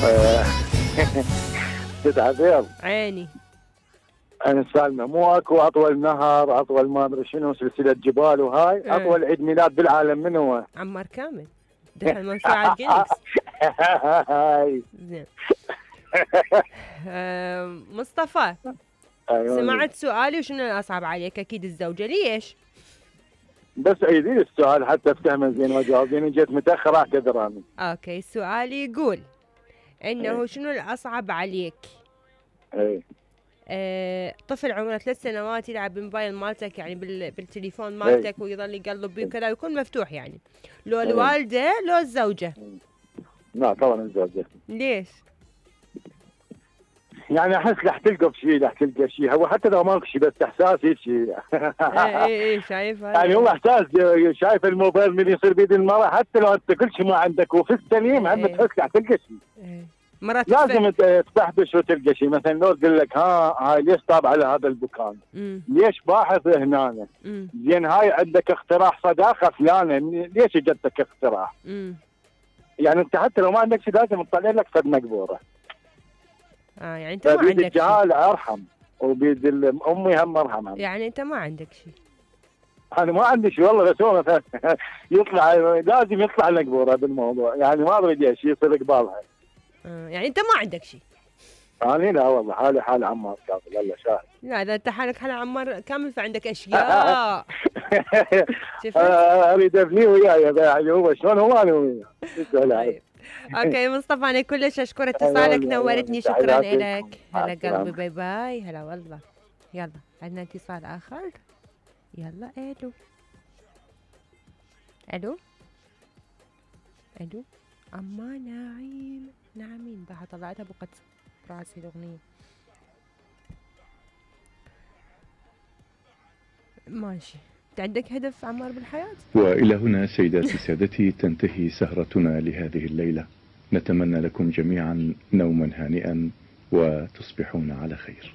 آه، ست عبير. عيني. انا سالمه مو اكو اطول نهر، اطول ما ادري شنو، سلسله جبال وهاي، اطول عيد ميلاد بالعالم من هو؟ عمار كامل دخل موسوعة جينيس. هاي. زين. مصطفى، أيوة. سمعت سؤالي وشنو الأصعب عليك؟ أكيد الزوجة. ليش؟ بس عيدي لي السؤال حتى افتهمه زين واجاوب، لاني جيت متاخر اعتذر انا. اوكي، سؤالي يقول انه إيه. شنو الأصعب عليك؟ اي. طفل عمره 3 سنوات يلعب بالموبايل مالتك، يعني بالتليفون إيه. مالتك، ويظل يقلب بيه وكذا ويكون مفتوح، يعني لو إيه. الوالدة لو الزوجة؟ لا طبعا الزوجة. ليش؟ يعني احس رح تلقى شيء، رح تلقى شيء، هو حتى لو ماكو شيء بس احساسي شيء. ايه شايف هذا؟ يعني هو احساس، شايف الموبايل من يصير بيد المرأة، حتى لو انت كل شيء ما عندك وفي السليم هم تحس رح تلقى شيء. مرات لازم تبحث وتلقى شيء، مثلا لو تقول لك هاي ليش طابع على هذا الدكان؟ ليش باحث هنا؟ زين هاي عندك اقتراح صداقة فلانة، ليش اجتك اقتراح؟ يعني انت حتى لو ما عندك شيء لازم تطلع لك فد مقبورة. يعني انت ما عندك شيء. الجهال ارحم، وبيد امي هم ارحم. يعني انت ما عندك شيء. انا ما عندي شيء والله، بس هو مثلا يطلع لازم يطلع مقبورة بالموضوع، يعني ما اريد شيء يصير قبالها. يعني انت ما عندك شيء. انا لا والله، حالي حال عمار كامل، الله شاهد. لا اذا انت حالك حال عمار كامل فعندك اشياء. اريد ابنيه وياي، يعني هو شلون هو انا وياه. طيب. اوكي مصطفى، انا كلش اشكر اتصالك، نورتني، شكرا لك. هلا قلبي، باي باي، هلا والله. يلا عندنا اتصال اخر. يلا. الو الو الو. اما نعيم نعمين بها طلعتها بقت براسي الاغنيه. ماشي. انت عندك هدف عمار بالحياه؟ والى هنا سيداتي سادتي تنتهي سهرتنا لهذه الليله. نتمنى لكم جميعا نوما هانئا وتصبحون على خير.